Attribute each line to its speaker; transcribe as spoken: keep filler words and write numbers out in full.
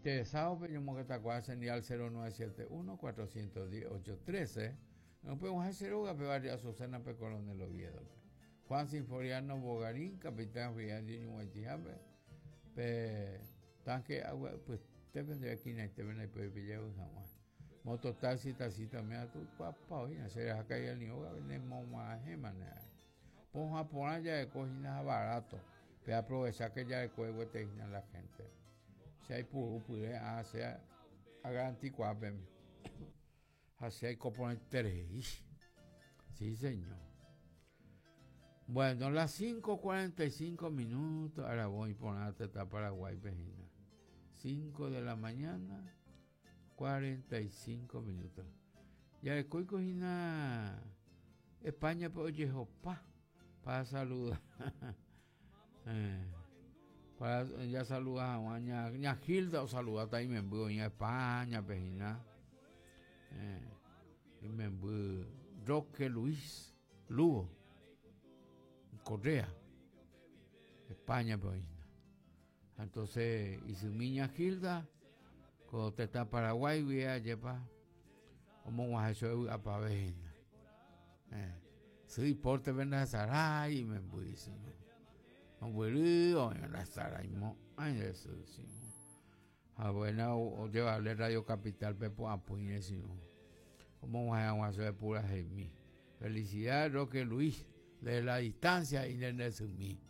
Speaker 1: Interesado pe ñomongetakuaa señal cero nueve siete uno cuatrocientos diez ocho trece. No podemos hacer oga pe barrio Azucena pe Coronel Oviedo. Juan Sinforiano Bogarín, capitán Julián de Ñuguaytijape, pe tanque agua, pues te vendría aquí en este ven ahí puede pillar un jamás. Mototaxi, taxi también tu papá hoy, no se deja caer ni hoga, venimos más gemana. Ponja por allá de cocina barato, pe aprovechar que ya de cuego te la gente. Si hay puro, puré, ah, sea, haga anticuape. Así hay que poner tres. Sí, señor. Bueno, las cinco cuarenta y cinco minutos. Ahora voy por la teta Paraguay, Pejina. cinco de la mañana, cuarenta y cinco minutos. Ya de cocina España, pues oye, opa, para saludar. eh, para ya saludar a Juan, ña, ña Gilda, o saludar también en España, Pejina. Eh, y me voy Roque Luis Lugo Correa, España, pues. Entonces, y su niña Gilda, cuando te está Paraguay, voy a llevar como un ajecho a pavena. Eh, soy porte ven a Saray, me voy, sí. No voy, o en la Saray, mo, ay, eso, sí. Ah, bueno, o llevarle Radio Capital, Pepo, a Puñe, sí. Como un ajecho de pura Gemí. Felicidades, Roque Luis, de la distancia y de Sumí.